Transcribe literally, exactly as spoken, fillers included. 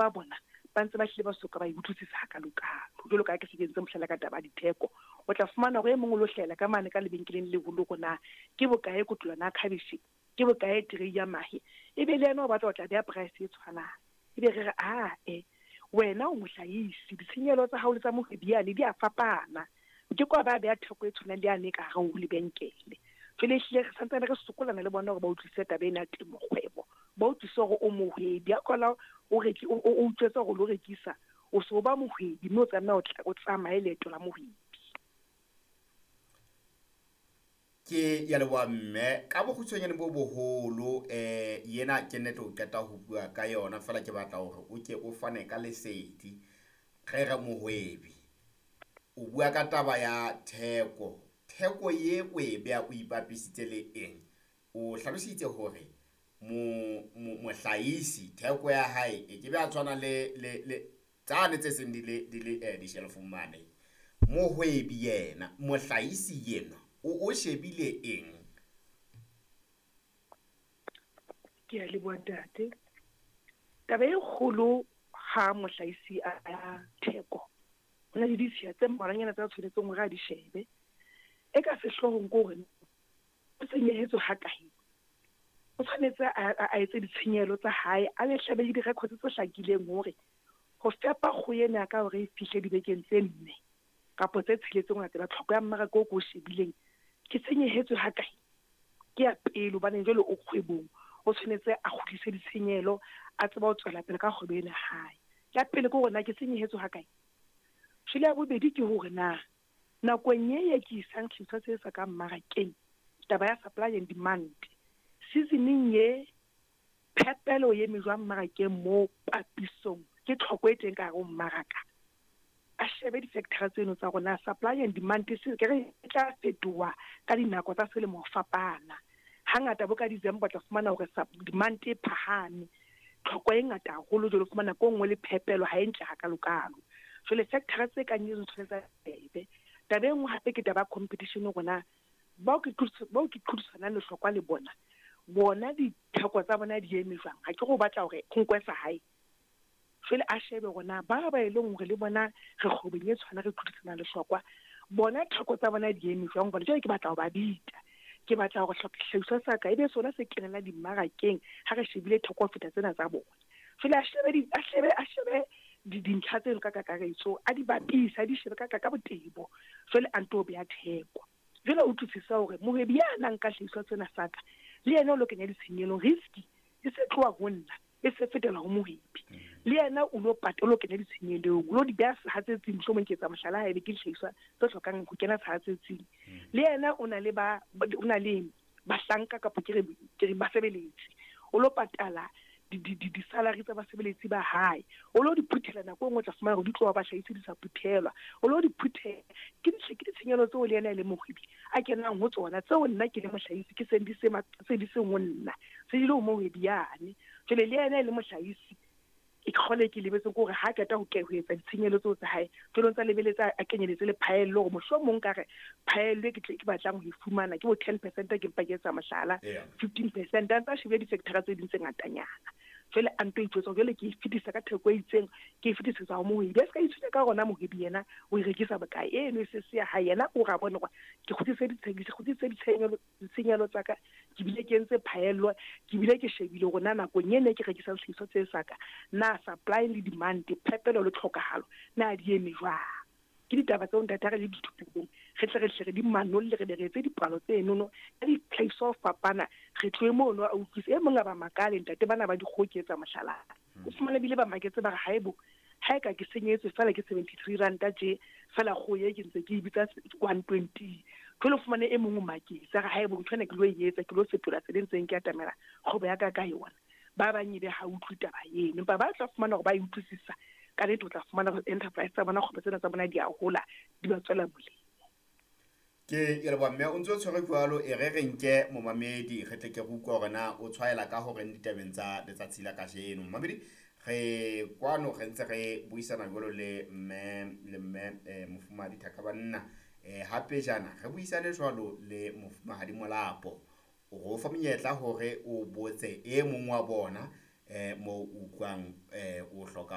ba bona ba ntse ba hlile ba soka ba e utlwisisa hakalokalo. Jwalo ka ha ke se ke entse mohlala ka taba ya ditheko, o tla fumana hore e mong o lo hlahela ka mane ka lebenkeleng le leholo hore na ke bokae kotolwana ya khabetjhe, ke bokae tray ya mahe, ebe le yena o batla ho tla beha price e tshwanang. Ebe re re ae, wena o mohlahisi, ditshenyehelo tsa hao le tsa mohwebi yane di a fapana. O ke ke wa ba beha theko e tshwanang le yane e ka hare ho lebenkele. Jwale ehlile re santsane re sokolana le bona hore ba utlwisise taba ena ya temo kgwebo, ba utlwisise hore o mohwebi. Ha kola o reki o o utlwetse hore o lo rekisa, o so ba mohwebi mme o tlameha o tla o tsamaye leeto la mohwebi. Ke ya leboha mme ka bokgutshwanyane bo boholo eh yena ke nnete o qeta ho bua ka yona fela ke batla hore o ke o fane ka lesedi. Re re mohwebi o bua ka taba ya theko, theko ye o e beha o ipapisitse le eng? O hlalositse hore mo mohlahisi theko ya hae e ke be a tshwana le le le tsane tse seng di le di le eh, dishelofong mane. Mohwebi yena mohlahisi yena o o shebile eng? Ke a leboha ntate. Taba e kgolo ha mohlahisi a ya theko, ho na le ditshiya tse mmalwanyana tse a tshwanetseng hore a di shebe. E ka sehloohong ke hore o senyehetswe ha kae, o tshwanetse a a etse ditshenyehelo tsa hae, a be hlabe le di-records tse hlakileng hore ho fepa kgoho ena ya ka hore e fihle dibekeng tse nne kapa tse tsheletseng ho latela tlhoko ya mmaraka oo ko o shebileng, ke senyehetswe ha kae. Ke ya pele hobane jwale o kgwebong, o tshwanetse a kgutlise ditshenyehelo, a tsebe ho tswela pele ka kgwebo ena ya hae. Ya pele ke hore na ke senyehetswe ha kae. Jwale ya bobedi ke hore na nakong e ye ke isang sehlahiswa se sa ka mmarakeng, taba ya supply and demand, season-eng ye phepelo e eme jwang mmarakeng moo papisong ke tlhoko e teng ka hare ho mmaraka. A shebe di-factor tseno tsa rona, supply and demand se ke re e tla fetoha ka dinako tsa selemo ho fapana. Hangata bo ka December o tla fumana hore demand e phahame, tlhoko e ngata haholo, jwale o fumana ko nngwe le phepelo ha e ntle hakalokalo. Jwale factor tse kang eno tshwanetse a shebe. Taba e nngwe hape ke taba ya competition hore na bao ke bao ke qhodisanang lehlokwa le bona, bona ditheko tsa bona di eme jwang. Ha ke re o batla hore ho nkwe sa hae. Jwale a shebe hore na ba ba e leng hore le bona re kgwebong e tshwana re qhodisanang lehlokwa, bona theko tsa bona di eme jwang. Hobane jwale ke batla ho ba bita, ke batla hore sehlahiswa sa ka ebe sona se kenela dimmarakeng ha re shebile theko ho feta tsena tsa bona. Jwale a shebe a shebe a shebe dintlha tseno ka kakaretso, a di bapise, a di shebe ka ka botebo, jwale a nto beha theko. Jwale o utlwisisa hore mohwebi ya nang ka sehlahiswa sena sa ka le yena o lo kenya ditshenyehelo, risk e se tloha ho nna e se fetela ho mohwebi. Le yena o lo o lo kenya ditshenyehelong, o lo di beha sehatsetsing, mohlomong ke etsa mohlala haebe ke dihlahiswa tse hlokang ho kena sehatsetsing. Le yena o na le ba o na le bahlanka kapa ke re ke re basebeletsi, o lo patala di-salary tsa basebeletsi ba hae, o lo di phuthela nako e nngwe o tla fumana hore di tloha bahlahisi di sa phuthelwa, o lo di phuthela. Ke ke ditshenyehelo tseo le yena e le mohwebi a kenang ho tsona, tseo nna ke le mohlahisi ke seng di se se di seng ho nna, se di le ho mohwebi yane. Jwale le yena e le mohlahisi, e kgole ke lebetse ke hore ha qeta ho ho etsa ditshenyehelo tseo tsa hae, jwale o ntsa lebeletse a kenyeletse le phaello hore mohlomong ka re phaello e ke tle ke batlang ho e fumana ke bo ten percent, ke mpa ke etsa mohlala fifteen percent, a ntsa shebile di-factor tse ding tse ngatanyana. Jwale a nto itjwetsa jwale ke e fetisa ka theko e itseng, ke e fetisetsa ho mohwebi. A ska itshwenya ka rona mohwebi yena o e rekisa bokae, eno e se se ya hae, yena o ra bona hore ke kgutlise kgutlise ditshenyehelo tsa ka, ke bile ke entse phaello, ke bile ke shebile hore na nakong ena ke rekisang sehlahiswa se sa ka, na supply le demand, phepelo le tlhokahalo, na di eme jwang. Ke ditaba tseo ntate ha re le dithupelong, re tle re hle re di manolle, re be re etse dipalo tsenono ka ditlhahiso ho fapana, re tlohe mono a utlwise. E mong a ba makale ntate bana ba dikgoho ke etsa mohlala, o fumane bile ba maketse ba re haebo ha e ka ke senyetswe fela ke seventy-three ranta tje fela kgoho e ke ntse ke e bitsa one twenty. Jwale o fumane e mong o maketse a re haebo ntho ena ke lo e etsa, ke lo fetola tsela e ntseng ke atamela kgwebo ya ka ka yona. Ba bang ebe ha utlwe taba eno, empa ba tla fumana hore ba e utlwisisa ka nnete, o tla fumana hore enterprise tsa bona, kgwebo tsena tsa bona di a hola, di ba tswela molemo. Ke ke leboha mme o ntso tshwere jwalo, e re re nke momamedi re tle ke re utlwe hore na o tshwaela ka horeng ditabeng tsa letsatsi la kajeno. Momamedi re kwano re ntse re buisana jwalo le mme le mme eh, Mofumahadi Thakabanna, eh hape jana re buisane jwalo le Mofumahadi Molapo. O re o fa monyetla hore o botse e mong wa bona eh mo utlwang eh o hloka